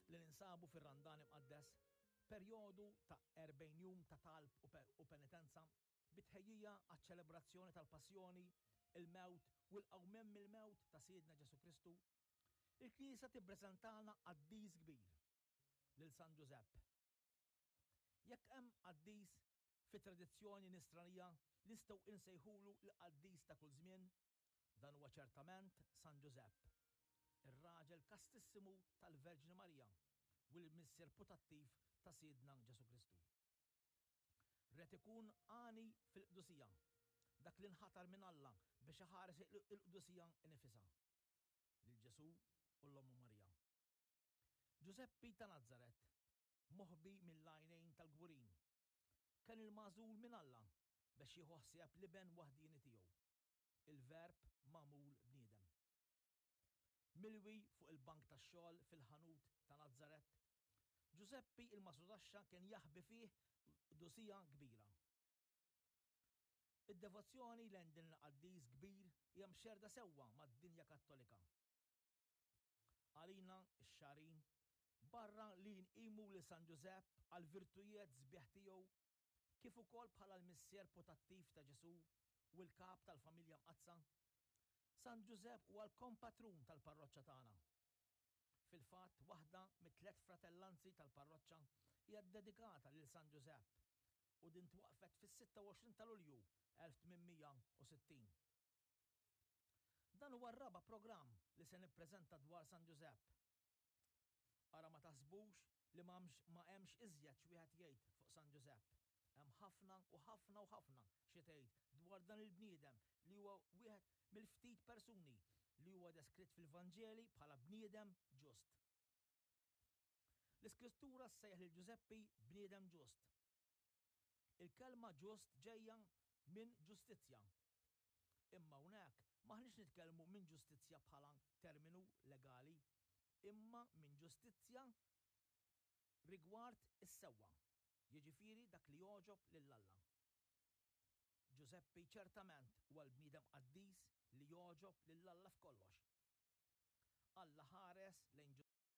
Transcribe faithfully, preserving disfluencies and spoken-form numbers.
Waqt li ninsabu fir-Randan Imqaddes, perjodu ta' erbgħin jum ta' talb u penitenza, bi tħejjija għaċ-ċelebrazzjoni tal-Passjoni, il-mewt u l-qawmien mill-mewt ta' Sidna Ġesù Kristu, il-Knisja tippreżentalna qaddis kbir, lil San Ġużepp. Jekk hemm qaddis fit-tradizzjoni nisranija li nistgħu insejħulu l-qaddis ta' kull żmien, dan huwa ċertament San Ġużepp, ir-raġel kastissimu tal-Verġni Marija u l-missier putattiv ta' Sidna Ġesù Kristu. Ried ikun għani fil-qdusija, dak li nħatar minn Alla biex iħares il-qdusija nifisha, lil Ġesù u l-Ommu Marija. Ġużeppi ta' Nazaret, moħbi mill-għajnejn tal-kburin, kien il-magħżul minn Alla biex jieħu ħsieb l-iben waħdieni tiegħu, il-Verb magħmul bniedem. Milwi fuq il-bank tax-xogħol fil-ħanut ta' Nazaret, Ġużeppi il-Masudaxxa kien jaħbi fih qdusija kbira. Id-devozzjoni lejn din il-qaddis kbir hija mxerrda sewwa mad-dinja Kattolika. Għalina x-Xagħrin, barra li nqimu lil San Ġużepp għall-virtujiet sbieħ tiegħu, kif ukoll bħala l-missier putattiv ta' Ġesù u l-kap tal-familja mqaddsa, San Ġużepp huwa l-kompatrun tal-parroċċa tagħna. Fil-fatt, waħda mit-tliet fratellanzi tal-parroċċa hija ddedikata lil San Ġużepp u din twaqqfet fis-sitta u għoxrin ta' Lulju elf tmien mija u sittin. Dan huwa r-raba' programm li se nippreżenta dwar San Ġużepp. Ara ma taħsbux li ma hemmx iżjed x'wieħed jgħid fuq San Ġużepp. Hemm ħafna u ħafna u ħafna xi tgħid dwar dan il-bniedem li huwa wieħed mill-ftit persuni li huwa deskritt fil-Vanġeli bħala bniedem ġust. L-Iskrittura ssejjaħ lil Ġużeppi bniedem ġust. Il-kelma ġust ġejja minn ġustizzja. Imma hawnhekk m'aħniex nitkellmu minn ġustizzja bħala terminu legali, imma minn ġustizzja rigward is-sewwa, jiġifieri dak li jogħġob lil Alla. Ġużeppi ċertament huwa l-bniedem qaddis li jogħġob lil Alla f'kollox. Alla ħares lejn